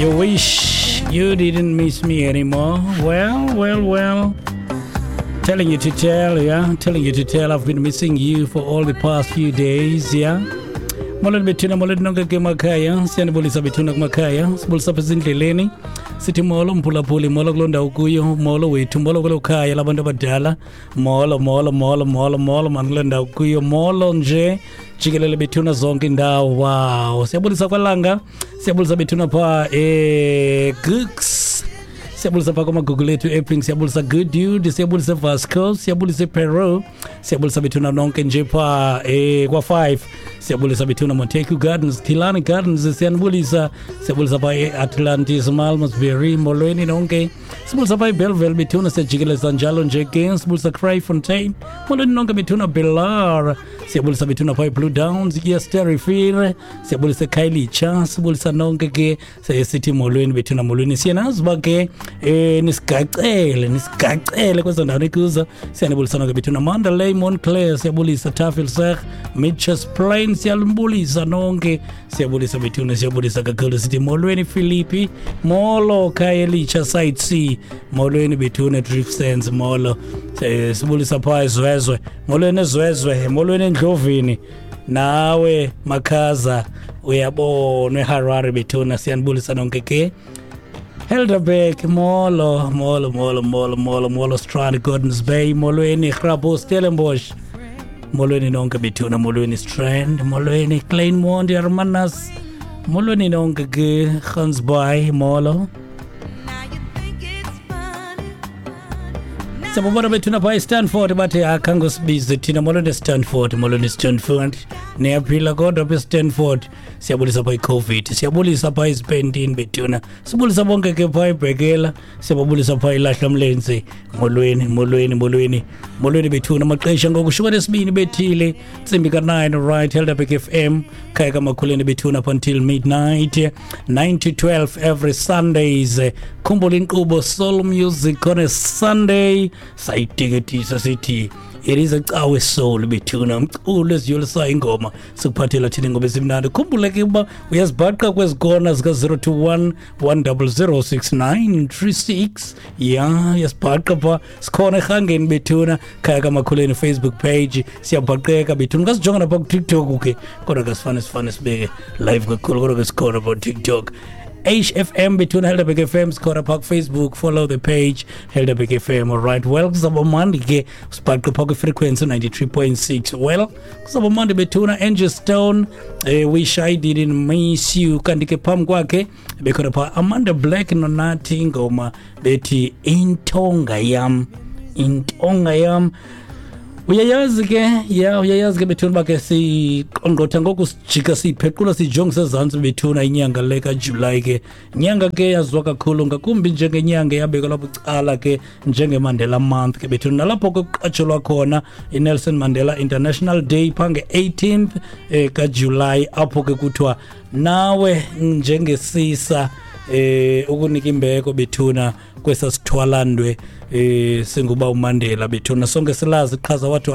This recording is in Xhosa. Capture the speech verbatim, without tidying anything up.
You wish you didn't miss me anymore. Well, well, well. Telling you to tell, yeah. Telling you to tell. I've been missing you for all the past few days, yeah. Molweni bethuna, molweni nonke ke emakhaya. Siyanibulisa bethuna kumakhaya. Sibulisa apha ezindleleni. Sithi molo mphulaphuli, molo kuloo ndawo kuyo, molo wethu, molo kwelo khaya labantu abadala. Molo, molo, molo, molo, molo mani kuloo ndawo kuyo. Molo nje jikelele bethuna zonke indawo. Wow. Siyabulisa kwalanga. Siyabulisa bethuna phaa eh Gooks. Siyabulisa phaa kwamagugu lethu Epping, siyabulisa Good Dude, siyabulisa Vasco, siyabulisa Peru, siyabulisa bethuna nonke nje phaa eh kwa five. Siyabulisa bethuna Montague Gardens, Killarney Gardens, siyanibulisa. Siyabulisa phaa e-Atlantis, Malmesbury, molweni nonke. Sibulisa phaa eBellville bethuna, siyajikeleza njalo nje ke. Sibulisa Kraaifontein, molweni nonke bethuna Belar. Siyabulisa bethuna phaa eBlue Downs, Eersterivier, siyabulisa eKhayelitsha, sibulisa nonke ke. Sithi molweni bethuna, molweni. Siyanazi uba ke eh nisigacele, nisigacele kwezo ndawo nikuzo. Siyanibulisa nonke bethuna Mandalay, Montclair, siyabulisa Tafelsig, Mitchells Plain, siyalibulisa nonke. Siyabulisa bethuna, siyabulisa kakhulu. Sithi molweni Philippi, molo Khayelitsha Site C, molweni bethuna Driftsands, molo. Sibulisa phaa eZwezwe, molweni eZwezwe, molweni eNdlovini. Nawe Makhaza uyabona eHarare bethuna, siyanibulisa nonke ke. Helderberg, molo, molo, molo, molo, molo, molo, Strand, Gordons Bay, molweni Grabouw, Stellenbosch, molweni nonke bethuna, molweni Strand, molweni Kleinmond, Hermanus, molweni nonke ke, Gansbaai, molo. Siyabona bethuna phaa eStanford, bathi akhange sibize thina. Molweni Stanford, molweni Stanford, niyaphila kodwa apha eStanford. Siyabulisa phaa iCovid, siyabulisa phaa izipentini bethuna, sibulisa bonke ke phaa eBhekela, siyababulisa phaa iLahlamlenze. Molweni, molweni, molweni, molweni bethuna. Amaxesha ngoku shumi nesibini bethile, ntsimbi ka-nine, right, Helderberg F M, khaya kaMakhuleni bethuna up until midnight, nine to twelve every Sundays. Khumbula inkqubo Soul Music on a Sunday. Sayiteketisa sithi it is a cawe soul bethuna, umculo eziyolisa ingoma sikuphathela thina ingoma ezimnandi. Khumbule ke uba uyazibhaqa kwezi kona zika zero two one one double zero six nine three six. Ya, uyazibhaqa pha, sikhona erhangeni bethuna, khaya kaMakhuleni Facebook page, siyabhaqeka bethuna. Ungasijonga napha kuTikTok ke, kodwa ke sifane sifane sibeke live kakhulu, kodwa ke sikhona pha kuTikTok. H F M between Helderberg F M, sikhona pha Facebook, follow the page Helderberg F M. All right, well, kuzawuba mandi ke sibhaqe pha kwi-frequency ninety-three point six. Well, kuzawuba mandi bethuna. Angie Stone, eh, wish I didn't miss you. Kanti ke phambi kwakhe bekhona pha Amanda Black noNathi, ingoma bethi Intonga Yam, Intonga Yam. Uyayazi ke, ya uyayazi ke bethuna uba ke siqongqotha ngoku sijika siyiphequla sijongise ezantsi bethuna inyanga le kaJulayi ke. Inyanga ke yaziwa kakhulu ngakumbi njengenyanga eyabekelwa bucala ke njengeMandela Month ke bethuna. Nalapho ke kuqatshelwa khona iNelson Mandela International Day phaa nge-eighteenth eh, kaJulayi, apho ke kuthiwa nawe njengesisa eh ukunika imbeko bethuna kwesa sithwalandwe eh singuba uMandela bethuna. Sonke silazi iqhaza wathi